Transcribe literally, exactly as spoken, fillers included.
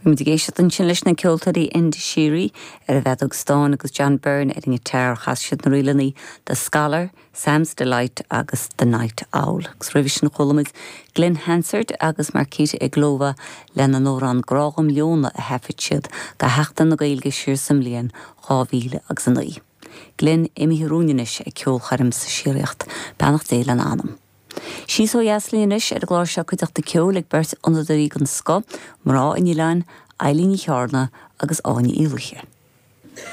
Muid ag éisteacht ansin leis na ceoltóirí Enda Sheery ar an bhfeadóg stáin agus John Byrne ar an ngiotár chas siad na ríleanna The Scholar, Sam's Delight agus The Night Owl. Agus roimhe sin chuala muid Glen Hansard agus Markéta Irglová lena n-amhrán Grá Dhom Leona a thaifead siad do Sheachtain na Gaeilge siar sa mbliain dhá mhíle agus a naoi. Glen imithe romhainn anois ag ceolchoirm sa síoraíocht, beannacht Dé lena anam. Síos ó dheas linn anois ar an gclár seo cuideachta ceoil ag beirt fhonnadóirí den scoth, mná an oileáin, Eilín Ní Chearna agus Áine Uí Laoithe.